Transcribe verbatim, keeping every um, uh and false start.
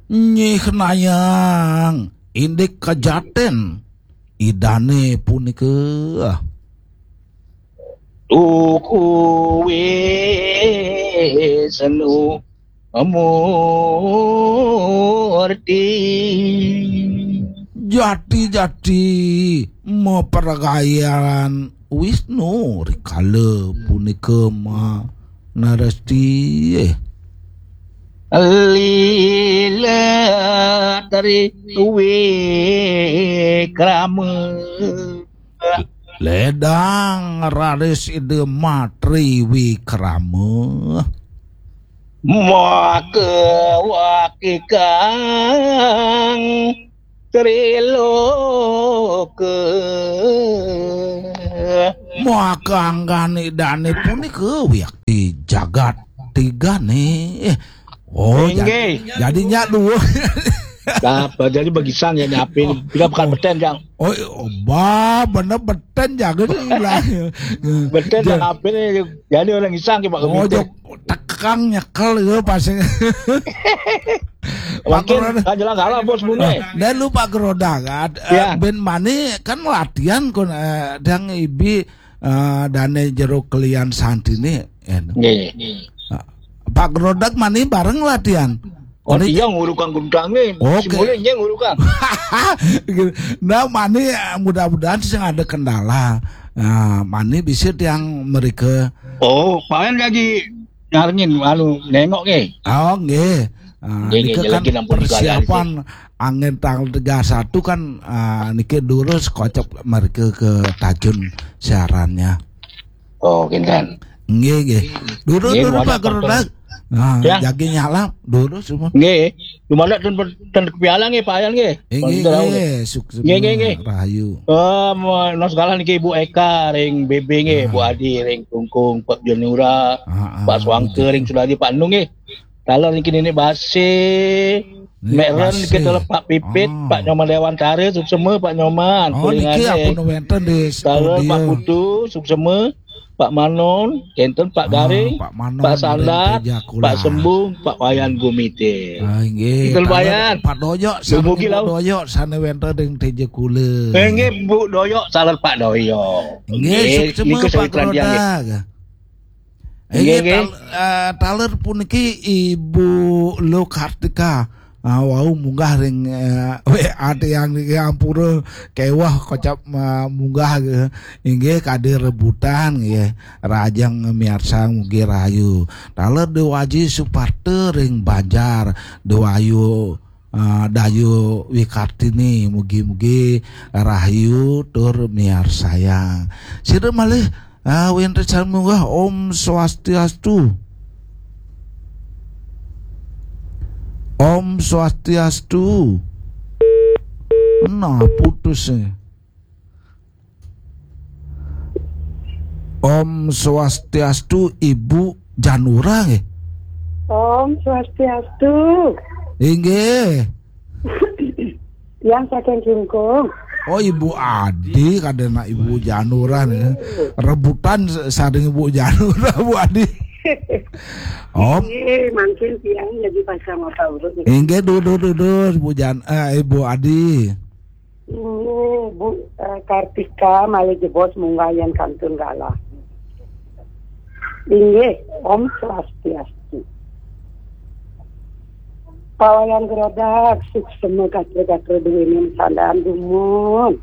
Nyih Nayang, indik kajatén Idané punika. Tuku Wisnu Murti. Jati-jati mapragayan Wisnu rikala punika ma naresti. Lila Tri Wikrama. Ledang raris Ida Matri Wikrama. Maka wakikang triloka. Maka anggan Idané punika wiakti jagat tigané. Eh, oh, inggih. Jadi, jadi nyak dua. Apa jadi begisang ya nyapin? Kita bukan beten, Jang. Oh, oh, bah, bener beten jaga sih lah. Beten dan apa nih? Jadi orang isang ke Pak Komite. Jok tekang nyekel itu pasti. Pak Mungkin Geroda. Kan jelas salah, Bos, Bune. Dan lu Pak Geroda, kan, eh, ya. Ben mani kan latihan kon, eh, dang ibi, eh, dane jero kelian santini, ya. Nggih. Ah, Pak Geroda mani bareng latihan. Oh, ini iya ngurukang gundange. Oke. Simule iya ngurukang. Gitu. Nah, mani, eh, mudah-mudahan sing ada kendala. Nah, mani bisa tiang mereka. Oh, paling lagi nyarengin, anu, nengok nggih. Oh, nggih. Ah, nggih, nggih, nika kan lagi nampun persiapan angin tanggal tiga satu kan, ah, niki durus kocok mereka ke Tajun siarannya. Oh, kinten. Nggih, nggih. Durus, nggih, durus, Pak Geroda. Nah, ya. Jagi nyala, durus semua. Nggih. Dumada ten, ten kepiala nggih, Pak Yan nggih. Eh, nggih, nggih, sukses. Nggih, nggih, nggih. Rahayu. Eh, menawi segala niki Ibu Eka ring B B nggih, Bu Adi ring Tungkung, Pak Janura, ah, ah, Pak Swangke ring Sudadi, Pak Enung nggih. Taler niki Nenek Basi, Nenek Mek Ren Basi. Kita Pak Pipit, ah. Pak Nyoman Dewantara, suksema Pak Nyoman. Oh, niki kulingane. Ampun wenten di studio. Taler Pak Putu, suksema. Pak Manon, kenten Pak, ah, Garing, Pak Manon, Pak Sandar, Pak Sembung, Pak Wayan Gumite. Ah, nggih. Kenten Pak Wayan. Pak Doyok, dumugi sareng Bu Doyok, sane wenten ring Teja Kula. Eh, nggih, Bu Doyok, saler Pak Doyok. Nggih, nggih, suksema niku Pak Geroda. Nggih, nggih. Tal-, eh, taler puniki Ibu Lo Kartika. Ah, wau munggah ring, eh, W A tiang niki ampura keweh kocap, eh, munggah, eh, inggih kadi rebutan nggih. Rahajeng miarsa mugi rahayu. Taler Dewaji Suparta ring Banjar, Dewayu, eh, Dayu Wikartini mugi-mugi rahayu tur miarsayang. Sira malih Ah, wenten sami munggah. Om Swastiastu. Om Swastiastu. Nah, putus, eh. Om Swastiastu, Ibu Janura nggih. Om Swastiastu. Inggih. Yang saking Kingkung. Oh, Ibu Adi, kadena Ibu Janura nih. Rebutan s-, sareng Ibu Janura, Bu Adi. Om. Iya, mungkin tiang jadi pasang otak urut. Inggih, dudur, dudur, Bu Jan-, eh, Ibu Adi. Inggih, Bu, eh, Kartika malih jebos munggah yen kantun galah. Inggih, Om Swastiastu. Pawayan Gerodak, suksema gatra-gatra duwene sandaan dumun.